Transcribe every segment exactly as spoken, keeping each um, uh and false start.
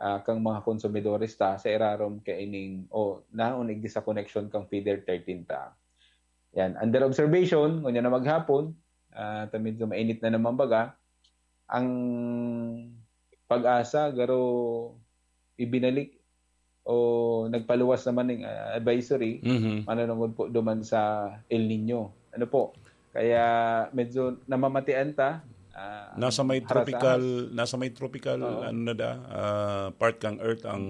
ah, kang mga konsumidores ta sa irarom kaining o naon igdi sa koneksyon kang feeder thirteen ta. Yan, under observation, ngunyan na maghapon, ah, ta medyo mainit na naman baga, ang PAGASA garo ibinalik o nagpaluwas naman ng, ah, advisory, Mhm. mananungod po duman sa El Nino. Ano po? Kaya medyo namamatian ta. Ah, Nasa may harasahas. tropical, nasa may tropical, Oo. ano na da, ah, part kang Earth ang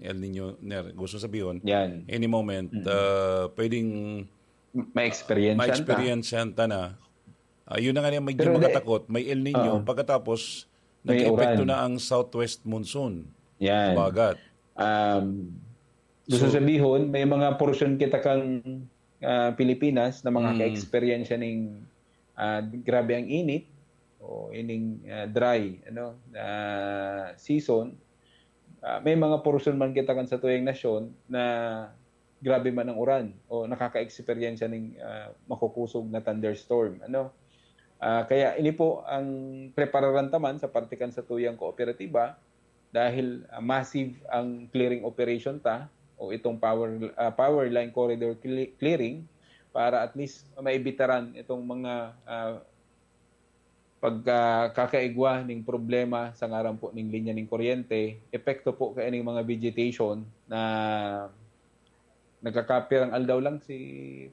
El Nino, Ner. Gusto sabihin, Yan. any moment, Mm. ah, pwedeng Ma-experience yan ta. ma-experience yan ta na. Ah, yun na nga yung medyo Pero di- makatakot, may El Nino, Oo. pagkatapos, May nag-epekto uran. na ang southwest monsoon. Yan. Bagat. Um, gusto So- sabihin, may mga portion kita kang, ah, Pilipinas na mga Mm. ka-experience ning, ah, grabe ang init o ining, ah, dry, ano, ah, season. Ah, may mga portion man kita kan sa tuyang nasyon na grabe man ang uran o nakaka-experience ning, ah, makukusog na thunderstorm, ano. Ah, kaya ini po ang prepararan ta man sa parte kan sa tuyang kooperatiba dahil, ah, massive ang clearing operation ta o itong power, ah, power line corridor cle-, clearing para at least maibitaran itong mga, ah, pagkakaigwa ning problema sa ngaran po ning linya ning kuryente, epekto po kaya ning mga vegetation na nagkakapirang aldaw lang si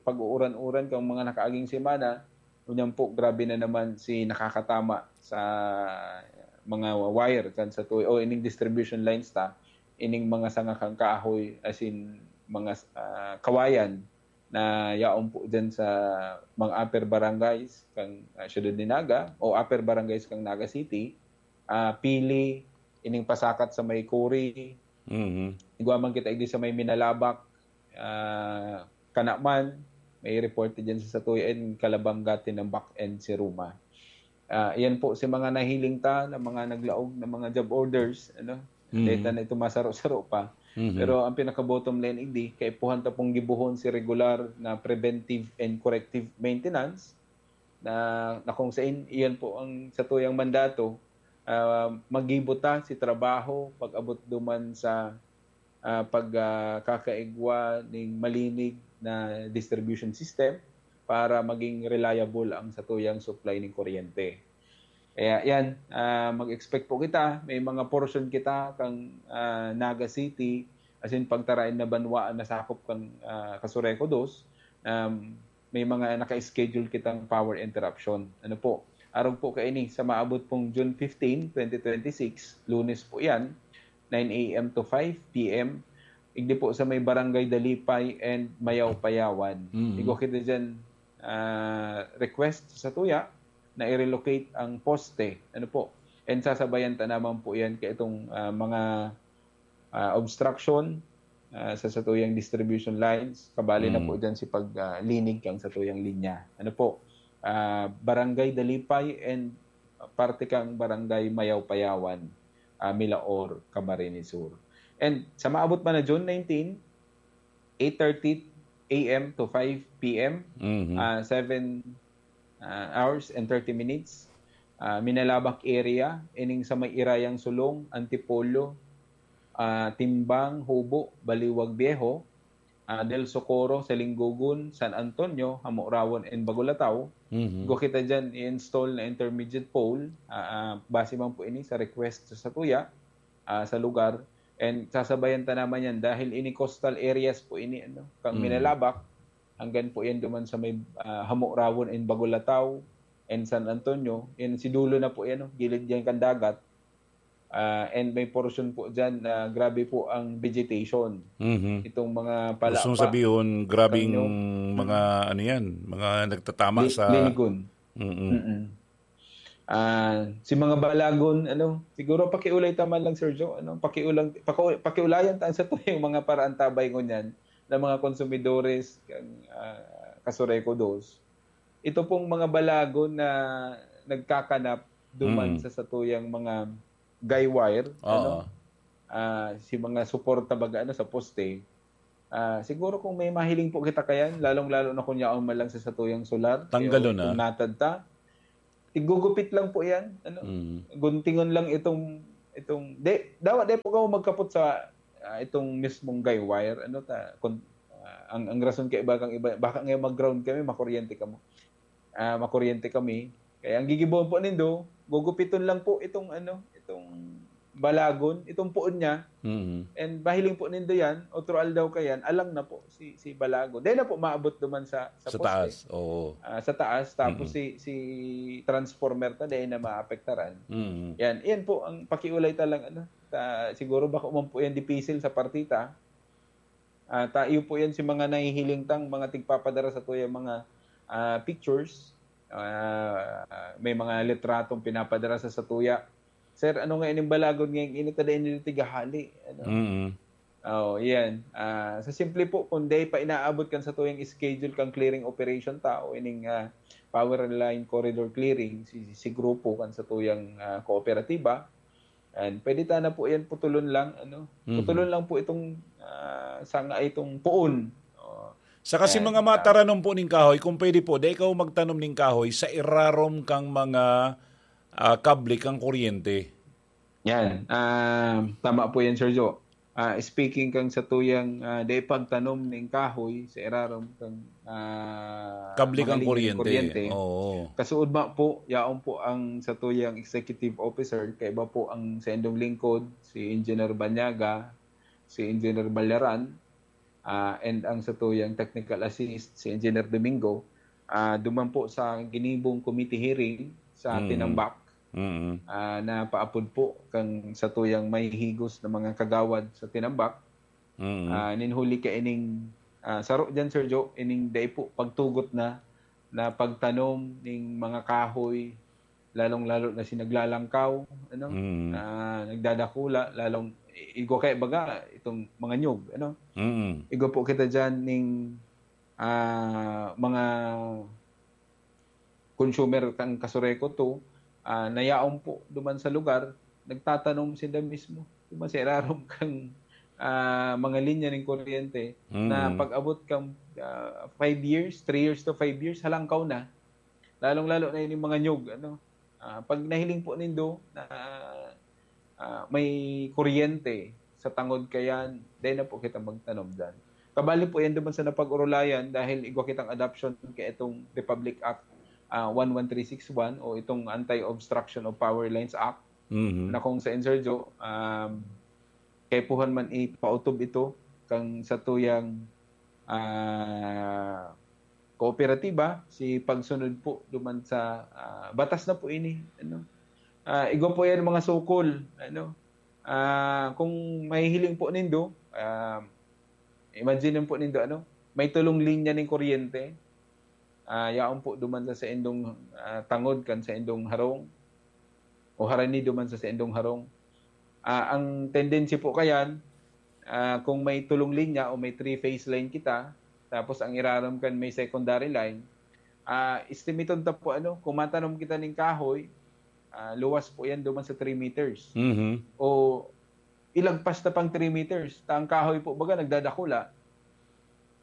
pag-uuran-uran kang mga nakaaging semana, ngunyan po grabe na naman si nakakatama sa mga wire kan sa tuyo o ining distribution lines ta, ining mga sanga kang kahoy, as in mga, ah, kawayan na yaon po dyan sa mga upper barangays kang, ah, siyudad ni Naga o upper barangays kang Naga City, ah, Pili, ining pasakat sa may Kuri, Mhm. igwa man kita igdi sa may Minalabac, ah, kana man, may report dyan sa Satuya and Calabanga, Tinambac and Siruma. Ah, yan po si mga nahiling ta na mga naglaog na mga job orders, ano? Mhm. Data na ito masaro-saro pa. Mhm. Pero ang pinaka-bottom line, igdi, kaipuhan ta pong gibuhon si regular na preventive and corrective maintenance na, na kung sain, iyan po ang sa tuyang mandato, ah, maggibo ta si trabaho pag-abot duman sa, ah, pag, ah, kakaigwa ning malinig na distribution system para maging reliable ang sa tuyang supply ning kuryente. Kaya yan, ah, mag-expect po kita, may mga portion kita kang, ah, Naga City, as in pagtarain na banwa na sakop kang, ah, Casureco dos, um, may mga naka-schedule kitang power interruption. Ano po? Arog po kaini sa maabot pong June fifteen, twenty twenty-six, Lunes po yan, nine a m to five p m. Igdi po sa may Barangay Dalipay and Mayaw Payawan. Mm. Igwa kita dyan, ah, request sa tuya na i-relocate ang poste. Ano po? And sasabayan ta naman po yan kay itong, ah, mga, ah, obstruction, ah, sa satuyang distribution lines. Kabali na Mm. po dyan si pag, ah, linig kang satuyang linya. Ano po? Ah, Barangay Dalipay and parte kang Barangay Mayaw Payawan, ah, Milaor, Camarines Sur. And sa maabot man na June nineteen, eight thirty a m to five p m, Mhm. ah, seven, ah, hours and thirty minutes. Ah, Minalabac area, ining sa may Irayang Sulong, Antipolo, ah, Timbang, Hubo, Baliwag Viejo, ah, Del Socorro, Salinggogon, San Antonio, Hamorawon, and Bagulataw. Mhm. Igwa kita dyan i-install na intermediate pole. Ah, ah, base man po ini sa request sa tuya, ah, sa lugar. And sasabayan ta naman yan dahil ini coastal areas po ini, ano, kang Mm. Minalabac, hanggang po yan duman sa may, ah, Hamorawon and Bagulataw and San Antonio. Yan, si dulo na po yan, no? Gilid yan kan dagat. Ah, and may portion po dyan na grabe po ang vegetation. Mhm. Itong mga palapa. Gusto mong sabihin, grabing Kanyo. mga ano yan, mga nagtatama Li-, sa... linigon. Mm-mm. Mm-mm. Ah, si mga balagon, ano, siguro pakiulay ta man lang, Sir Joe, ano, pakiulang, paku-, pakiulayan ta sa tuyang mga paraantabay ngunyan ng mga konsumidores kang, ah, Casureco dos. Ito pong mga balagon na nagkakanap duman Mm. sa satuyang mga guy wire, Oo. ano, ah, si mga suporta baga, ano, sa poste. Ah, siguro kung may mahiling po kita kayan, lalong-lalo na kung yaon man lang sa satuyang solar, Tanggalon kaya na. Kung natad ta, igugupit lang po yan. Ano? Mm. Guntingon lang itong Itong, di, dawa di po kamo magkapot sa, ah, itong mismong guy wire, ano ta, kun, ah, ang, ang rason kay iba kang iba, baka nga mag-ground kami, makuryente kamo. Ah, makuryente kami. Kaya ang gigibohon po nindo, gugupiton lang po itong, ano, itong balagon, itong puon niya. Mm. And mahiling po nindo yan, otro aldaw kayan, alang na po si, si balagon. Dahil na po maabot duman sa, sa Sa poste. taas, oo. Ah, sa taas, tapos Mm. si, si transformer ta, dahil na maapektaran. Mm. Yan, yan po ang pakiulay ta lang, ano. Ta, siguro bako man po yan dipisil sa partita. Ah, ta, iyo po yan si mga nahihiling tang, mga tigpapadara sa tuya mga ah, pictures. Ah, may mga litratong pinapadara sa satuya. Sir, ano nga ining balagon ngayong init na dahil nila tigahali? Ano? Mm. Oh, yan. Ah, sa simple po, kung day pa inaabot kan sa tuyang schedule kang clearing operation tao, ining ah, power line corridor clearing, si, si grupo kan sa tuyang ah, kooperatiba, and pwede ta na po yan putulon lang, ano? Mhm. Putulon lang po itong ah, sanga itong puon. Oh. Sa kasi Ayan, mga ah. mataranom po ning kahoy, kung pwede po, di ikaw magtanom ning kahoy sa irarom kang mga ah, kable kang kuryente. Yan. Ah, tama po yan, Sir Joe. Ah, speaking kang sa tuyang ah, di pagtanom ning kahoy sa irarom kang ah, Kable mga kang linya ning kuryente. Oo. Kasuod ma po, yaon po ang sa tuyang executive officer, kaiba po ang sa indong lingkod, si Engineer Banyaga, si Engineer Balyaran, ah, and ang sa tuyang technical assist, si Engineer Domingo, ah, duman po sa ginibong committee hearing sa Mm. Tinambak, Mm. ah, na paapod po kang sa tuyang may higos na mga kagawad sa Tinambak. Mm. Ah, ninhuli ka ining ah, saro dyan, Sir Joe, ining dai po pagtugot na na pagtanom ning mga kahoy, lalong-lalo na si naglalangkaw, ano? Mm. Ah, nagdadakula, lalong igwa kay baga itong mga nyug, ano? Mm. Igwa po kita dyan ning ah, mga consumer kang Kasureko to, ah, nayaon po duman sa lugar, nagtatanom sinda mismo. Duman sa irarom kang ah, mga linya ning kuryente na Mm. pag-abot kang ah, five years, three years to five years, halangkaw na. Lalong-lalo na yung mga nyug, ano. Ah, pag nahiling po nindo na ah, may kuryente sa tangod kayan, dahil na po kita magtanom dyan. Kabali po yan duman sa napag-urulayan dahil igwa kitang adoption kay itong Republic Act ah, one one three six one o itong Anti-Obstruction of Power Lines Act Mhm. na kung sa Insurjo, um, kaipuhan man ipautob ito kang sa tuyang ah, kooperatiba, si pagsunod po duman sa ah, batas na po ini, ano. Ah, igwa po yan mga sukol, ano. Ah, kung mahihiling po nindo, ah, imagine po nindo, ano, may tulong linya ning kuryente. Ah, yaon po duman sa saindong ah, tangod kan saindong harong o harani duman sa saindong harong. Ah, ang tendency po kayan, ah, kung may tulong linya o may three-phase line kita, tapos ang irarom kan may secondary line, ah, estimaton ta po, ano, kung matanom kita ning kahoy, ah, luwas po yan duman sa three meters. Mhm. O ilagpas na pang three meters. Ta ang kahoy po baga nagdadakula.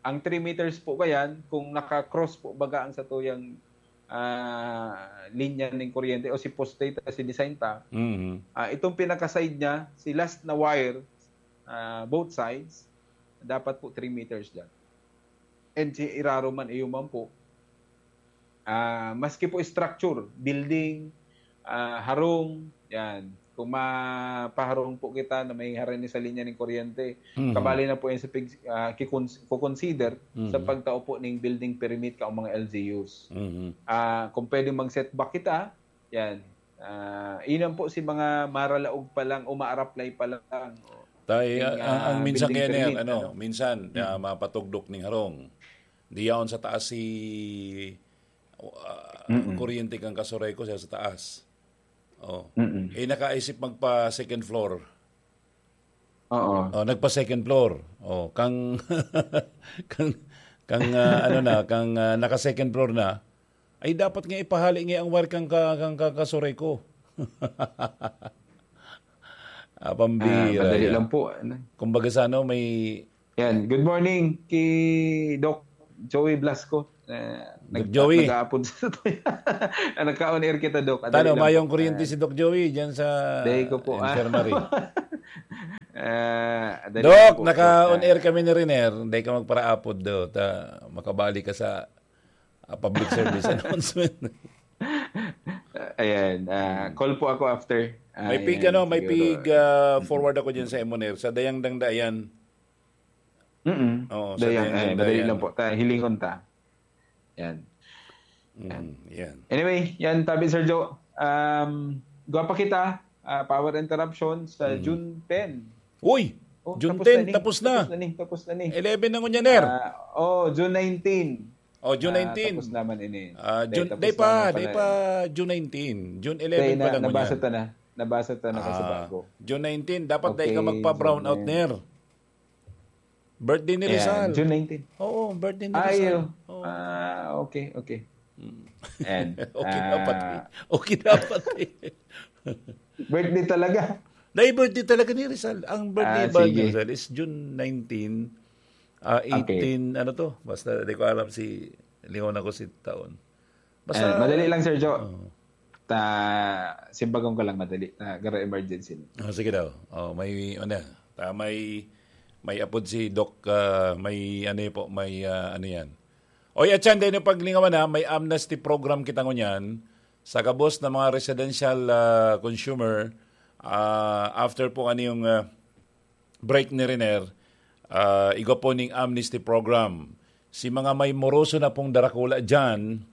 Ang three meters po kayan, kung naka-cross po baga ang satuyang ah, linya ning kuryente o si poste ta, si design ta, Mhm. ah, itong pinaka-side niya, si last na wire, ah, both sides, dapat po three meters lang. And si irarom man, iyo man po, ah, maski po structure, building, ah, harong, yan. Kung mapaharong po kita na may harani sa linya ning kuryente, Mhm. kabali na po yan sa pig, ah, kikons-, kukonsider sa Mhm. pagtao po ning building permit ka o mga L G Us. Mhm. Ah, kung pwede mag-setback kita, yan. Ah, iyan po si mga maralaog pa lang o maaraplay pa lang. Tay, Yung, ang, ang ah, minsan building kaya na yan, permit, ano, ano? minsan, ah, mapatugdok ning harong. Di yaon sa taas si ah, Mm-mm. kuryente kang Kasureko siya sa taas. Oh. Mm-mm. Eh, nakaisip magpa second floor. Oo. Oh, nagpa second floor. Oh, kang kang kang ah, ano na, kang ah, naka second floor na. Ay dapat nga ipahali nga ang wire kang ka, kang ka, Kasureko. Ah, pambira. Ah, madali Yan. Lang po. Ano? Kumbaga sa ano, may Yan. Good morning kay Doc Joey Blasco. Doc Joey. Nag-aapod sa tuya. Nagka-on air kita, Doc. Tano, mayong kuryente si Doc Joey dyan sa Day ko po, ah. Infirmary. Ah, dali Doc, po. Naka-on air kami ni Riner. Hindi ka magparaapod, do. Ta, makabali ka sa, ah, public service announcement. Ayan. Ah, call po ako after. May pig, ano, may pig, ah, forward ako dyan sa M one Air. Sa Dayang Dangda, ayan. Mm-mm. Oo, sa Dayang, Dayang Dangda, madali lang po. Ta, hilingon ta. Yan. Mm, yan. Anyway, yan, tabi, Sir Joe. Um, gwapa kita, ah, power interruption sa June ten. Uy! Oh, June ten, tapos na. Tapos na ni, tapos na ni. Eleven na ngunyan, Ner. Ah, oh, June nineteen. Oh, June nineteen. Ah, tapos naman ini. Ah, June, tapos day pa, naman pala. Day pa June nineteen. June eleven pala ngunyan. Nabasa ta na. Nabasa ta na kasi bago. June nineteen, dapat day ka magpa-brown out, Ner. Birthday ni Rizal. Ayan, June nineteen. Oo, birthday ni Rizal. Ay, oh. Oo. Ah, okay, okay. Mm. Ayan. Okay dapat eh. Okay dapat eh. Birthday talaga. Dahil birthday talaga ni Rizal. Ang birthday ba ni Rizal is June nineteen, ah, eighteen, ano to? Basta, di ko alam si, lingon ako si taon. Basta, madali lang, Sir Joe. Oo. Ta, simbagon ko lang madali. Ta, garo emergency na. Oh, sige daw. Oh, may, ano, ta, may, may apod si Doc, ah, may, ano po, may, ah, ano yan. Oy, atyan, dahil yung paglingawan na, may amnesty program kita ngunyan sa gabos na mga residential, ah, consumer, ah, after po ano yung, ah, break ni Riner, ah, igwa po ning amnesty program. Si mga may moroso na pong darakula dyan,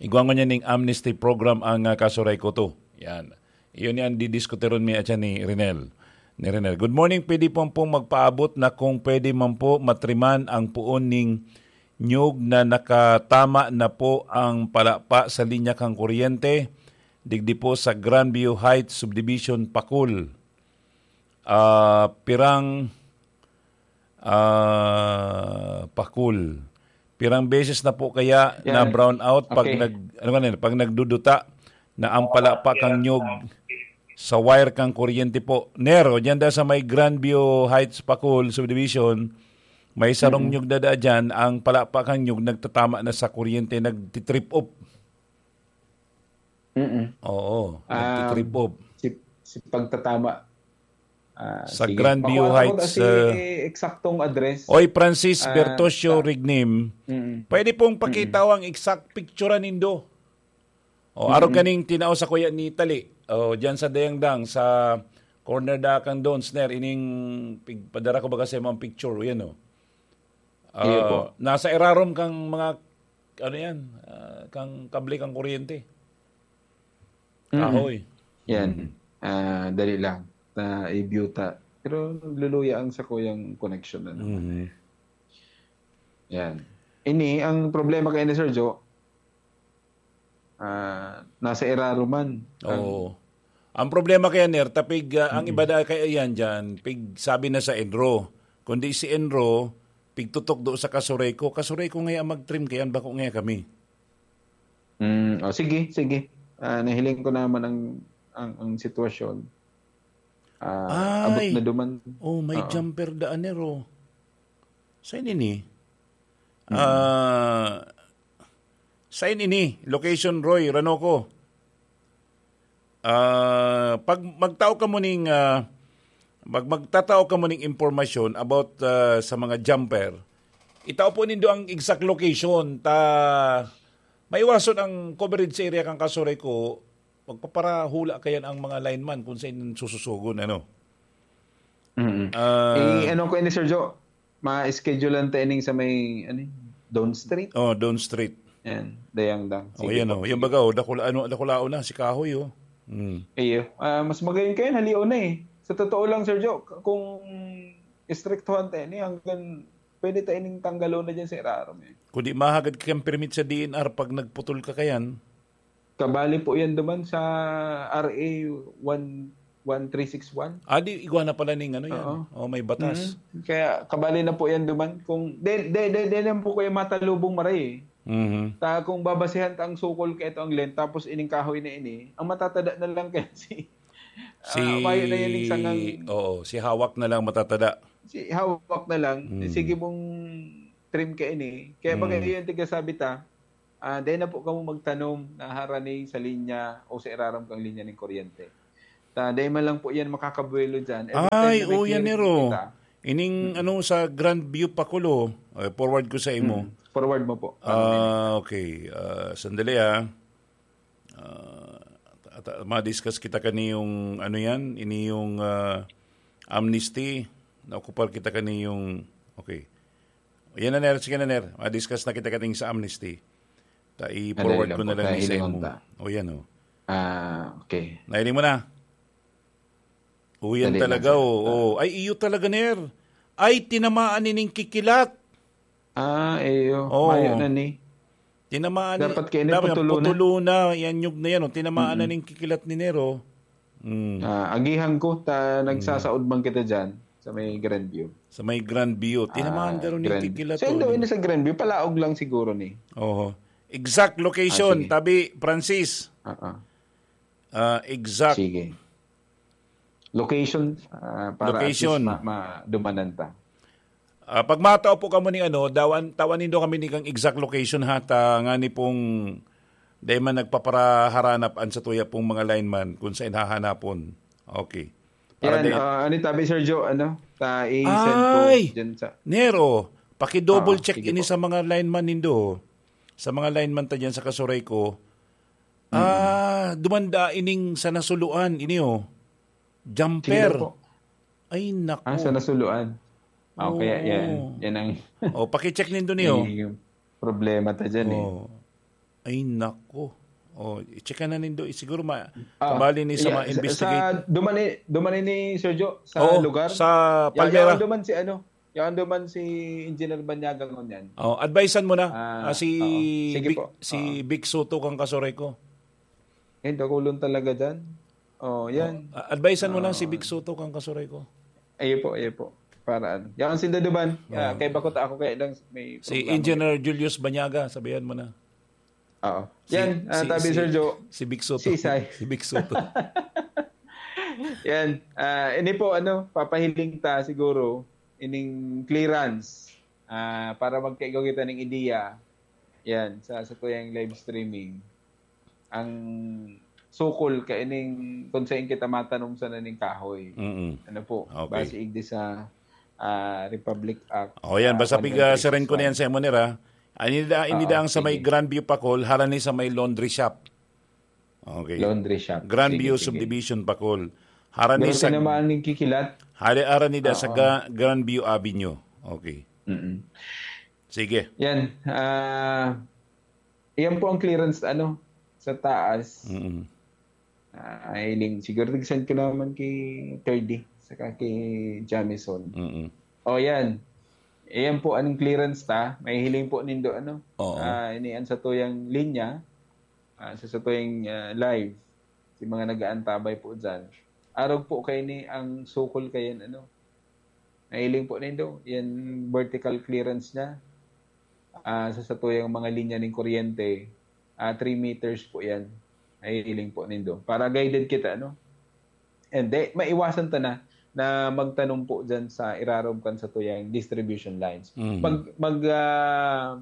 igwa ngunyan ning amnesty program ang, ah, Kasureko to. Yan. Iyon yan, didiskuteron mi atyan ni Rinel. Ni Rinel. Good morning, pwede po pong magpaabot na kung pwede man po matriman ang puon ning nyug na nakatama na po ang palapa sa linya kang kuryente, digdi po sa Grandview Heights Subdivision, Pakul. Ah, pirang, ah, Pakul. Pirang beses na po kaya na brown out pag nag-, ano nga na yun, pag nagduduta na ang palapa kang nyug sa wire kang kuryente po. Nero, dyan da sa may Grandview Heights, Pakul Subdivision, may sarong nyug na da dyan, ang palapa kang nyug nagtatama na sa kuryente, nagtitrip off. Mm-mm. Oo, nagtitrip off. Um, si, si pagtatama. Ah, sa sige. Grandview Heights, ah, eksaktong address. Oy, Francis Bertosio Rignim, pwede pong pakita ang exact picture nindo. O, arog kaning tinao sa kuya ni Tali. O, dyan sa Dayangdang, sa corner da kang Donsner, ining pig-, padara ko baga sa imong picture, yan o. Ah, iyo po. Nasa irarom kang mga, ano yan, ah, kang kable kang kuryente. Mm-mm. Kahoy. Yan. Mm. Ah, dali lang. Na i-view ta. Pero luluya ang sakuyang connection na naman. Mm. Yan. Ini, ang problema kay ni Sir Joe, ah, nasa iraro man. Ang Oo. Ang problema kaya, Ner, tapig, ah, ang Mm-mm. iba da kaya yan dyan, pig sabi na sa Enro. Kundi si Enro, pigtutok do sa Kasureko. Kasureko ngaya ang mag-trim kaya, bako ngaya kami. Mm, oh, sige, sige. Ah, nahiling ko naman ang, ang, ang sitwasyon. Ah, abot Ay! na duman. Oh, may Oo. jumper da, Ner, oh. Saan ini? Mm. Ah, saan ini? Location, Roy, Ranoco. Ah, pag magtao ka mo ning, ah, mag-, magtatao ka mo ning impormasyon about, ah, sa mga jumper, itao po nindo ang exact location. Ta, maiwason ang coverage sa area kang Kasureko, magpaparahula kayan ang mga lineman kung saan sususugon, ano? Mm-mm. Ah. Eh, ano ko ini, Sir Joe? Ma-schedulean ta ining sa may, ano, Dawn Street? Oh, Dawn Street. Yan, Dayangdang. Oh, Sige yan, po. oh. Yan baga, oh, dakula-, ano, dakulaon na, si Kahoy, oh. Mm. Iyo. Ah, mas magayon kayo, halion na eh. Sa totoo lang, Sir Joe, k-, kung istriktuhan tayo ni, hanggang pwede tayo ning tanggalon na dyan sa irarom eh. Kundi mahagad kayang permit sa D N R pag nagputol ka kayan. Kabali po yan duman sa R A one, one three six one. Ah, di, igwa na pala ning ano yan. Oo. Oh, may batas. Mm. Kaya kabali na po yan duman. Kung, de, de, de, de lang po kayo matalubong maray eh. Mhm. Ta, kung babasehan ta ang sukol kay ito ang length, tapos ining kahoy na ini, ang matatada na lang kaya si, Si, ah, bayo na yan, yung sangang oo, si hawak na lang matatada. Si hawak na lang. Mm. Sige mong stream kaini. Kaya baga Mm. iyo ang tigasabi ta, ah, dai na po kamo magtanom na harani sa linya o sa irarom kang linya ning kuryente. Ta, dai man lang po yan makakabuelo dyan. Every time Ay, na may oo, yan, clearance Nero. kita. Ining Mm. ano sa Grandview Pakulo, eh, forward ko sa imo. Mm. Forward mo po. Ah, okay. Ah, sandali, ah. Ah, at, at, ma-discuss kita kani yung ano yan, ini yung, ah, amnesty. Na-ocupar kita kani yung, okay. Yan na, Ner. Sige na, Ner. Ma-discuss na kita kaning sa amnesty. Ta, Madali i-forward lang ko po. na lang ni sa Nahilingon imo. ta. O, yan, o. Ah, okay. Nahiling mo na? O, yan Dali lang, talaga, sir. o. Ah. o. Ay, iyo talaga, Ner. Ay, tinamaan nining kikilat. Ah, iyo. Oo. Mayo na ni. Tinamaan ni, Dapat kaya ni dapat putulo na. putulo na. Yan, nyug na yan, o. Tinamaan na Mm-mm. ning kikilat ni Ner, o. Mm. Ah, agihan ko, ta, Mm. nagsasaod man kita dyan, sa may Grandview. Sa may Grandview. Tinamaan Ah, ka rin yung Grand-, kikilat, saan o, daw ni. ini sa Grandview? Palaog lang siguro ni. Oho. Exact location, Ah, sige. tabi, Francis. Ah, ah. Ah, exact. Sige. Location, ah, para at Location. least ma-, madumanan ta. Ah, pag matao po kamo ni ano, dawan, tawan nindo kami ni kang exact location ha, ta ngani pong dai man nagpaparaharanap an satuya pong mga lineman kung saan hahanapon. Okay. Para Yan, dai- ah, ano tabi, Sir Joe, ano? Ta, i-send ko Ay! dyan sa Nero, paki-double Ah, check sige ini po. sa mga lineman nindo. Sa mga lineman ta dyan sa Kasuray ko. Mm. Ah, dumanda ining sa nasuluan, ini, oh. Jumper. Sino po? Ay, naku. Ah, sa nasuluan. Ah, kaya yan. Oo. Yan ang Oh, paki-check nindo niyo. yung problema ta dyan, eh. Oh. Ay, naku. Oh, i-check na nindo. Siguro ma-, Ah, tabali ni sa yeah, ma-investigate. sa, duman ni, duman ni Sir Joe, sa Oo, lugar. sa Yaw, Palmera. yaw duman si ano, yaw duman si Engineer Banyaga ngunyan. Oh, advisean mo na. Ah, Ah, si oo. Sige Vic, po. si Oo. Vic Soto kang Kasuray ko. Eh, dakulon talaga dyan. Oh, yan. Oh, a-, advisean mo na si Ah. Vic Soto kang Kasuray ko. Ayo po, ayo po. Para ano. Yan ang sinda duman. Ah, Oh. kay bakot ako kaya lang may Si problema. Engineer Julius Banyaga, sabihan mo na. Oo. Si, Yan, ah, si, tabi, si, Sir Joe. si Vic Soto. Si Isay. Si Vic Soto. Yan. Ah, ini po, ano, papahiling ta siguro, ining clearance. Ah, para magkaigwa kita ning ideya. Yan, sa, sa tuyang live streaming. Ang sukol kaining kung saan kita matanom sana ning kahoy. Mm-mm. Ano po? Okay. Base igdi sa, ah, Republic Act, Oh, yan. ah, Basta piga siren ko na yan one twenty-six one. sa imo, Nir, ha? Inida, inida Oo, ang sa may sige. Grandview Pakol, harani sa may laundry shop. Okay. Laundry shop. Grandview Sige, sige. Subdivision, Pakol. Harani Pero sa tinamaan ning kikilat. Hari, harani da sa Oo. Ga-, Grandview Avenue. Okay. Mm-mm. Sige. Yan. Ah, yan po ang clearance, ano, sa taas. Mm-mm. Ah, hiling, siguro nag-send ko naman kay Thirdy, saka kay Jamison. Mm-mm. O, yan. Ayan po ang clearance ta. Mahihiling po nindo, ano? Oo. Ah, ini ang satuyang linya, ah, sa satuyang, ah, live. Si mga nag-aantabay po dyan. Arog po kayo ni ang sukol kayan, ano? Mahiling po nindo, yan vertical clearance niya. Ah, sa satuyang mga linya ning kuryente, ah, three meters po yan. Mahihiling po nindo. Para guided kita, no? And de, maiwasan ta na, na magtanom po dyan sa irarom kan satuyang distribution lines. Mm. Mag, mag, ah,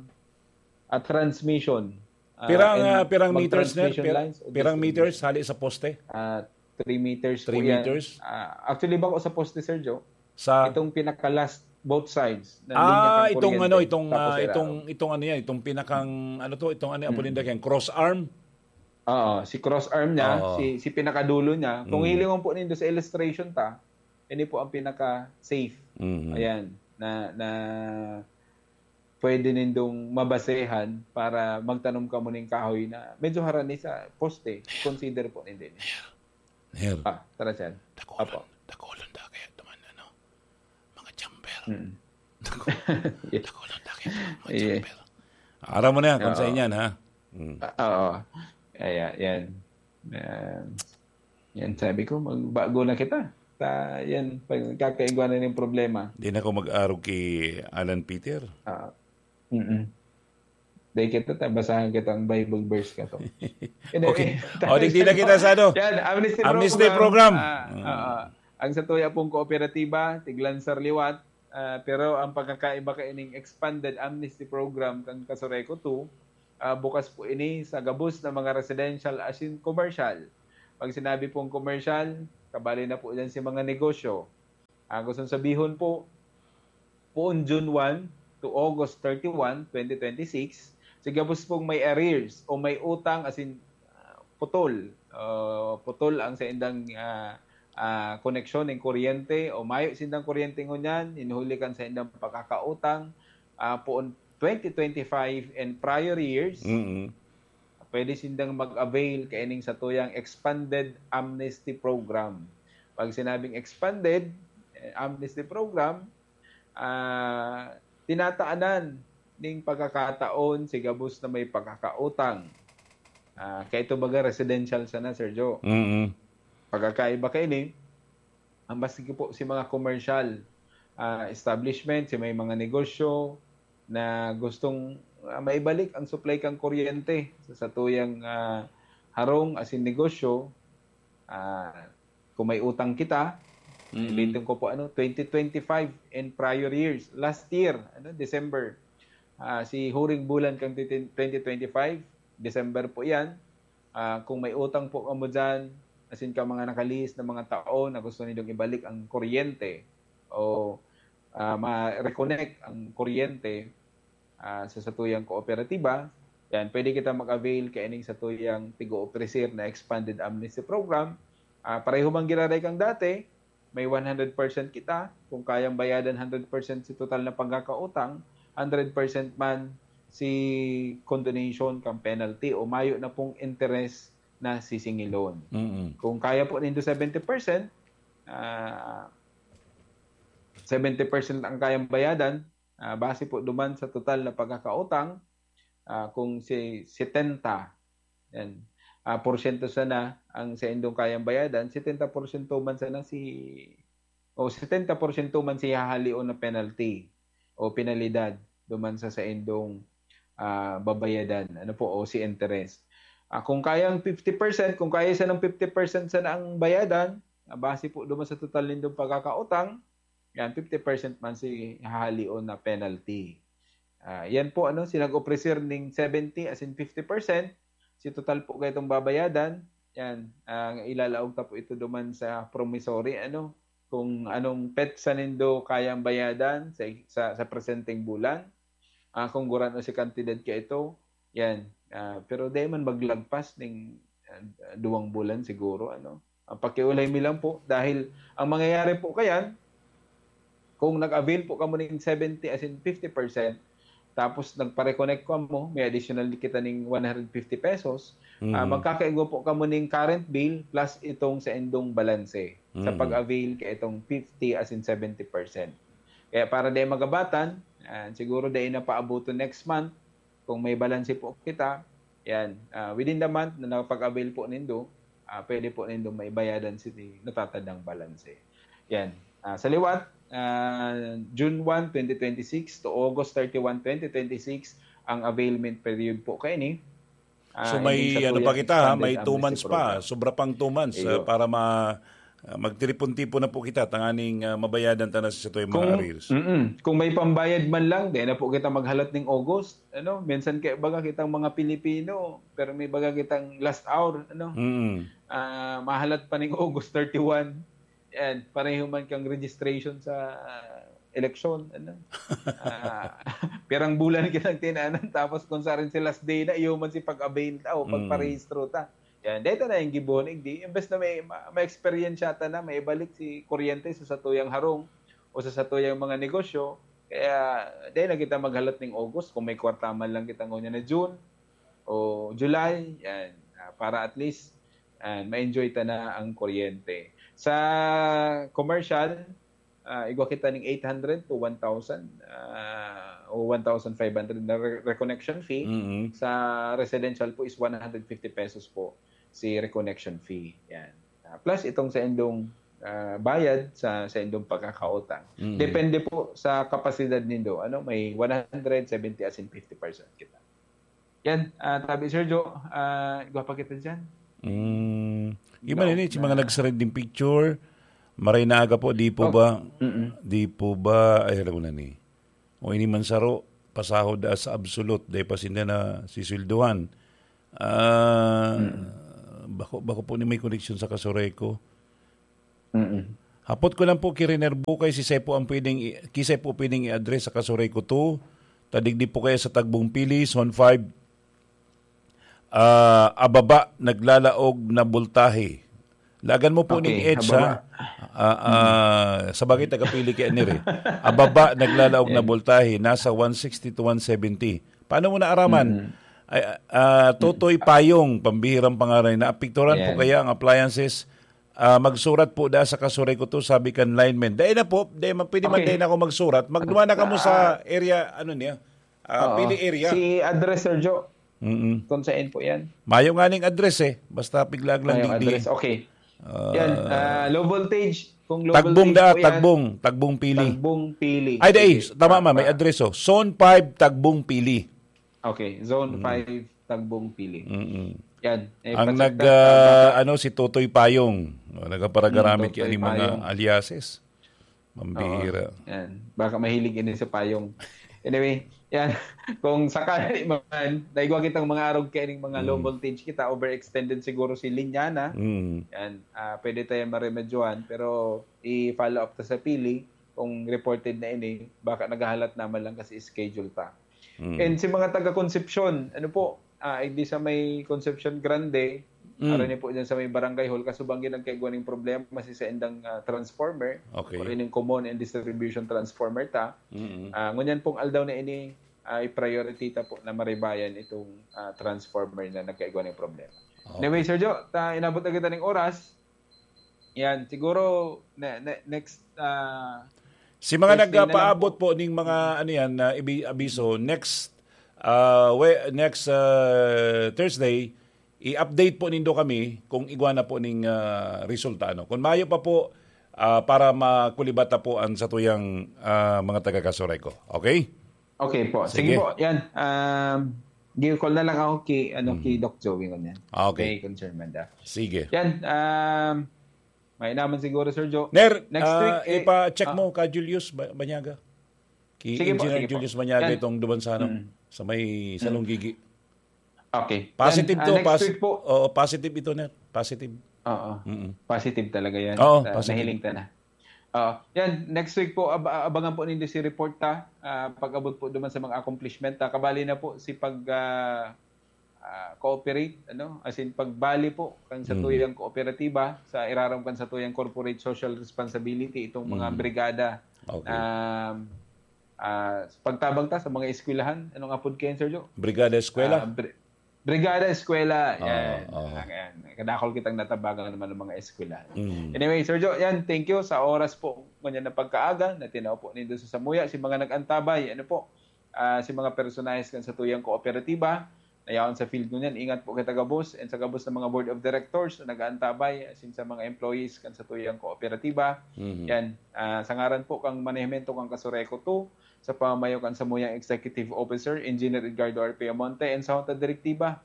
ah, transmission, ah, Pirang, and ah, pirang meters, Nir? mag-transmission Pir-, lines o pirang distribution. meters hali sa poste? Ah, three meters po Three yan. meters? Ah, actually, bako sa poste, Sir Joe. Sa Itong pinaka-last, both sides, na linya Ah, kang itong kuryente, ano, itong, tapos ah, irarom. itong, itong ano yan, itong pinakang, ano to, itong ano, Mm. Apolindo, kaya cross arm? Oo, si cross arm niya, Oo. si, si pinakadulo niya. Kung Mm. hilingon po nindo sa illustration ta, ini po ang pinaka-safe. Mm. Ayan, na, na pwede nindong mabasehan para magtanom kamo ning kahoy na medyo harani sa poste. Consider po nindo ini. Nir. Ah, tara, sir. Dakulon, Apo. dakulon da kaya duman, ano, mga jumper. Mm. Dako-, Yeah. dakulon da kaya duman, mga Yeah. jumper. Aram mo na yan, kung Oo. sa inyan, ha? Mm. Ah, oo. Kaya, yan. Um, yan, sabi ko, magbago na kita. Ta, yan, pag kakaigwa na yung problema. Di na ako mag-arog kay Alan Peter. Ah, mm-mm. Dahil kita, ta, basahan kita ang Bible verse ka to. Hindi, Okay. eh, O, digdi na kita sa ano? Yan, amnesty Amnesty program. program. Ah, Mm. ah, ah. Ang sa tuya pong kooperatiba, Tiglansar Liwat, Ah, pero ang pagkakaiba kaining expanded amnesty program kan Casureco two, ah, bukas po ini sa gabos na mga residential asin commercial. Pag sinabi pong commercial, kabali na po diyan si mga negosyo. Ah, gustong sabihon po, poon June one to August thirty-one, twenty twenty-six, si gabos pong may arrears o may utang asin, ah, putol, ah, putol ang saindang, ah, ah, koneksyon ning kuryente o mayo sindang kuryente ngunyan, hinuhuli kan saindang pagkakautang, ah, poon twenty twenty-five and prior years, Mm. pwede sindang mag-avail kaining satuyang expanded amnesty program. Pag sinabing expanded, eh, amnesty program, ah, tinataanan ning pagkakataon si gabos na may pagkakautang. Ah, kaya ito baga residential sana, Sir Joe. Mm. Pagkakaiba kaini, ang maski po si mga commercial, ah, establishment, si may mga negosyo na gustong, ah, maibalik ang supply kan kuryente sa satuyang, ah, harong asin negosyo, ah, kung may utang kita, Mm. ulitin ko po, ano, twenty twenty-five and prior years. Last year, ano, December, ah, si huring bulan kan twenty twenty-five, December po yan. Ah, kung may utang po kamo dyan, asin ka mga nakalihis na mga tao na gusto nindong ibalik ang kuryente o, ah, ma-reconnect ang kuryente, ah, sa satuyang kooperatiba, yan, pwede kita mag-avail kaining satuyang tig-oofrecer na expanded amnesty program. Ah, pareho man giraray kang dati, may one hundred percent kita. Kung kayang bayadan hundred percent si total na pagkakautang, hundred percent man si condonation kang penalty o mayo na pong interest na sisingilon. Mm. Kung kaya po nindo seventy percent, ah, seventy percent ang kayang bayadan, ah, base po duman sa total na pagkakautang, ah, kung si setenta, yan, ah, porsyento sana ang saindong kayang bayadan, setenta porsyento man sana si, o setenta porsyento man si hahalion na penalty o penalidad duman sa saindong, ah, babayadan, ano po, o si interest. Ah, kung kayang fifty percent, kung kaya sanang fifty percent sana ang bayadan, ah, base po duman sa total nindong pagkakautang, yan, fifty percent man si hahalion na penalty. Ah, yan po, ano, si nag-ofrecer ning seventy as in fifty percent, si total po kaitong babayadan, yan, ang ilalaog ta po ito duman sa promissory, ano, kung anong petsa nindo kayang bayadan sa, sa, sa presenteng bulan, ah, kung gurano si kantidad ka ito, yan. Ah, pero di man maglagpas ning, ah, duwang bulan siguro, ano. Ang pakiulay mi lang po, dahil ang mangyayari po kayan, kung nag-avail po kamo ning seventy as in fifty percent, tapos nagpa-reconnect kamo, may additional kita ning one hundred fifty pesos, ah, Mm. magkakaigwa po kamo ning current bill plus itong saindong balanse sa Mm. pag-avail ka itong fifty as in seventy percent. Kaya para di magabatan, ah, siguro di na paabuto next month, kung may balanse po kita, yan, ah, within the month na nakapag-avail po nindo, ah, pwede po nindo maibayadan si natatandang balanse. Yan. Ah, sa liwat, ah, June one, twenty twenty-six to August thirty-one, twenty twenty-six ang availment period po kaini. Ah, So may ining sa ano tuyang pa kita, ha? expanded May two amnesty months pa. program. Sobra pang two months Iyo. ah, para ma ah, magtiripon-tipon na po kita tanganing ah, mabayadan ta na sa satuyang mga Kung, arrears. mm-mm. Kung may pambayad man lang, di na po kita maghalat ning August. Ano, minsan kaya baga kitang mga Pilipino, pero may baga kitang last hour, ano? Mm. Ah, mahalat pa ning August thirty-one. Yan, pareho man kang registration sa ah, eleksyon, ano? Ah, pirang bulan kitang tinanan, tapos kung sarin si last day na, iyo man si pag-avail ta o Mm. pagparehistro ta. Yan, dito na yung gibuhon, igdi. Imbes na may ma- ma-experience ta na, may ibalik si kuryente sa satuyang harong o sa satuyang mga negosyo, kaya di na kita maghalat ning August kung may kwarta man lang kita ngunyan na June o July, yan, ah, para at least ah, ma-enjoy ta na ang kuryente. Sa commercial, ah, igwa kita ning eight hundred to one thousand, ah, o one thousand five hundred na re- reconnection fee. Mm. Sa residential po is one hundred fifty pesos po si reconnection fee. Yan. Ah, plus itong saindong ah, bayad sa saindong pagkakautang. Mm. Depende po sa kapasidad nindo. Ano, may one hundred, seventy as in fifty percent kita. Yan, ah, tabi Sir Joe, ah, igwa pa kita dyan. Mm. Igwa Iba na si mga na. nag-send ning picture, Maray na aga po, di po Oh. ba, Mm-mm. di po ba, ay, alam ko na ni. O ini man saro, pasahod as absolute, dahil pa sinda na sisweldohan. Ah, Mm. bako, bako po ni may koneksyon sa Casureco. Mm-mm. Hapot ko lang po, Kiriner Bukay, si Sepo ang pwedeng i-, kisay po pwedeng i-address sa Casureco two. Tadigdi po kaya sa Tagbong Pili, Zone five. Ah, ababa, naglalaog na boltahe. Lagan mo po Okay, ning EDSA. ababa. Ah, ah, sa bagay, taga-Pili kaya ni Re. Ababa, naglalaog na Yan. boltahe. Nasa one sixty to one seventy. Paano mo naaraman? Mm. Ay, ah, Totoy Payong, pambihirang pangaray. Naapekturan po Yan. kaya ang appliances? Ah, magsurat po da sa Casureco two, sabi kan lineman. Dai na po, dai man, pwede man Okay. dai na ako magsurat. Magduman na kamo sa Ah. area, ano niya? Ah, Oo. Pili area. Si address, Sir Joe. Mm-mm. Kung saan po yan? Mayo nga ning address eh. Basta piglag lang Mayo digdi. address. Okay. Ah. Yan, ah, low voltage. Kung low Tagbong voltage da, po yan, Tagbong, Tagbong Pili. Tagbong Pili. Ay, dai, Sige. tama Ah, ma, may ah. address oh. Zone five, Tagbong Pili. Okay, Zone Mm. five, Tagbong Pili. Mm-mm. Yan. Eh, Ang pacheck nag, na, ah, ah, ano, si Totoy Payong. Oh, nagkaparagaramit Mm, Totoy kaya ng mga Payong. aliases. Mambihira. Oo, yan. Baka mahilig ini sa payong. Anyway, yan. Kung sakali man, naigwa kitang mga arog kaya ning mga low Mm. voltage kita, overextended siguro si linya na. Mm. Yan. Ah, pwede tayo maremedyohan, pero i-follow up ta sa Pili kung reported na ini, baka naghahalat naman lang kasi schedule pa. Mm. And sa mga taga Concepcion, ano po, ah, hindi sa may Concepcion Grande, Mm. aron niyo po dyan sa may barangay hall, kasubang yun ang kaigwa ning problema si sa indang, ah, transformer, Okay. or ining common and distribution transformer ta. Mm. Ah, ngunyan pong aldaw na ini, ah, i-priority ta po na maribayan itong, ah, transformer na nagkaigwa ning problema. Okay. Anyway, Sir Joe, ta, inabot na kita ning oras. Yan, siguro, ne-, ne-, next, ah, Si mga Thursday na lang nagpaabot po. po ning mga, ano yan, na ibi-, abiso, next, ah, we-, next, ah, Thursday, i-update po nindo kami kung igwa na po ning, ah, resulta, ano. Kung mayo pa po, ah, para makulibat na po ang satuyang, ah, mga taga Casureco. Okay? Okay po. Sige Sige. po. Yan. Um, gi-call na lang ako ki, ano, Hmm. ki Doc Joey ngunyan. Ah, okay. May concern man da. Sige. Yan. Um, may naman siguro, Sir Joe. Ner, Next ah, week, eh, ipa-check ah. mo ka Julius Ba-, Banyaga. Ki Sige po, Engineer sige po. Julius Banyaga Yan. itong duman sa, ano, Mm. sa may Mm. Salonggigi. Okay. Positive Yan, ah, to, next pos-, week po. oo, positive ito, Ner. Positive. Oo. Mm-mm. Positive talaga yan. Oo, Ah, positive. nahiling ta na. Oo. Yan, next week po, ab-, abangan po ninyo si report ta. Ah, pag-abot po duman sa mga accomplishment ta. Kabali na po si pag, ah, ah, cooperate, ano? As in, pagbali po kan sa Mm. tuyang kooperatiba, sa irarom kan sa tuyang corporate social responsibility, itong mga Mm. brigada. Okay. Um, ah, pagtabang ta sa mga eskwelahan, anong apod kayan, Sir Joe? Brigada Eskwela? Ah, bri-, Brigada Eskwela, Oo, yan. oo. Ah, yan. Kadakol kitang natabangan naman ng mga eskwela. Mm. Anyway, Sir Joe, yan, thank you sa oras po ngunyan na pagkaaga na tinao po nindo sa samuya. Si mga nag-antabay, ano po, ah, si mga personahes kan sa tuyang kooperatiba, na yaon sa field ngunyan, ingat po kita gabos, and sa gabos ng mga board of directors na nag-aantabay, asin sa mga employees kan sa tuyang kooperatiba. Mhm. Yan, ah, sa ngaran po kang manehemento kan Casureco two, sa pamamayo kan samuyang executive officer, Engineer Edgardo R. Piamonte, and sa Junta Direktiba,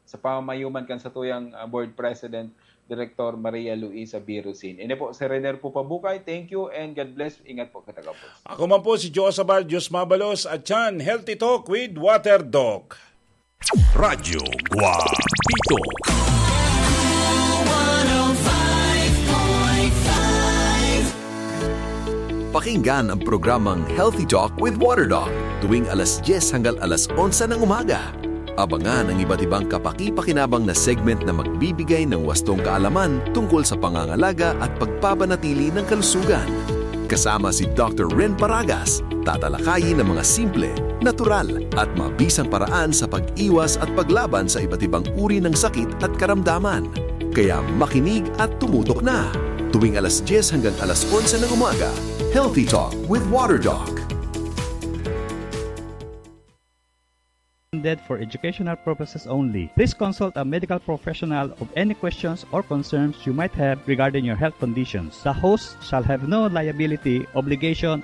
sa pamamayo man kan satuyang, ah, board president, Director Maria Luisa Birusin. Ini po si Renier Pupabukay. Thank you and God bless. Ingat po kita gabos. Ako man po si Joe Sabal, Diyos mabalos, at yan, Healthy Talk with Water Doc. Radyo Guapito. Pakinggan ang programang Healthy Talk with Water Doc tuwing alas dyes hanggang alas onse ng umaga. Abangan ang iba't ibang kapaki-pakinabang na segment na magbibigay ng wastong kaalaman tungkol sa pangangalaga at pagpapanatili ng kalusugan. Kasama si Doctor Ren Paragas, tatalakayin ang mga simple, natural, at mabisang paraan sa pag-iwas at paglaban sa iba't ibang uri ng sakit at karamdaman. Kaya makinig at tumutok na! Tuwing alas dyes hanggang alas onse ng umaga, Healthy Talk with Water Doc. Intended for educational purposes only. Please consult a medical professional of any questions or concerns you might have regarding your health conditions. The host shall have no liability, obligation,